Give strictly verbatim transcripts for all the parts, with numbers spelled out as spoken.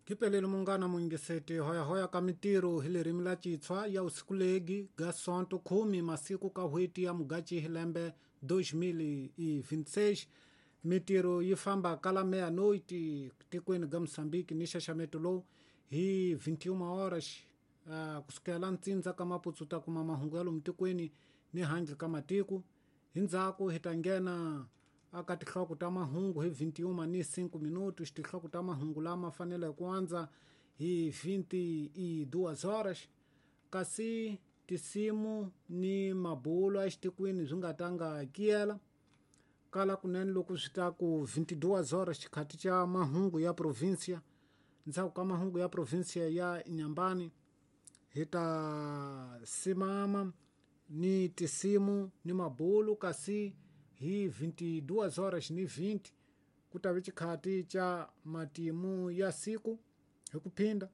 Kipeleli mungana muingiseti hoyahoya ka mitiro hi lerimi la citshwa ya usikulegi ga sonto khumi masiku ka hweti ya mugachi hi lembe dois mil e vinte e seis. Mitiro yi famba kala meia-noite tikweni ga Moçambique ni xaxameto lowu hi vinte e uma horas uh, kusukela ntsindza ka maputsu ta kuma mahungu ya lomu tikweni ni handle ka matiko. Hi ndzhaku hi ta nghena aka tihloko ta mahungu hi vinte e uma ni cinco minutos. Tihloko ta mahungu lama fanele ku andza hi vinte e duas horas, kasi tisimu ni mabulo exitikweni swi nga tanga kiyela kala kunene loko swi ta ku vinte e duas horas xikhati xa mahungu ya provincia. Ndzhaku ka mahungu ya provincia ya Inhambane hi ta simama ni tisimu ni mabulo, kasi hi vinte e duas horas ni vinte ku ta vi xikhati xa matimu ya siku hi ku phinda.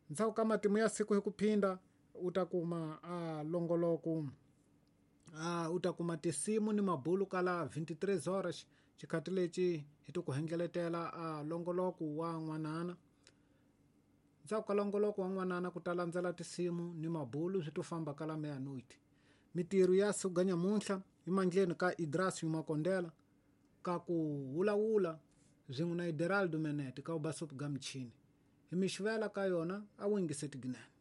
Ndzhaku ka matimu ya siku hi ku phinda u ta kuma a longoloko a u ta kuma tisimu ni mabulo kala vinte e três horas xikhati lexi hi ti ku hengeletela a longoloko wa n'wanana. Ndzhaku ka longoloko wa n'wanana ku ta landzela tisimu ni mabulo swi to famba kala meia-noite. Mitiro ya siku ga nyamuntlha i mandleni ka Idrasio Makondela ka ku wulawula swin'we na Ideraldo Menete ka ubasup ga michini. Hi mixivela ka yona a wu yingiseti ginene.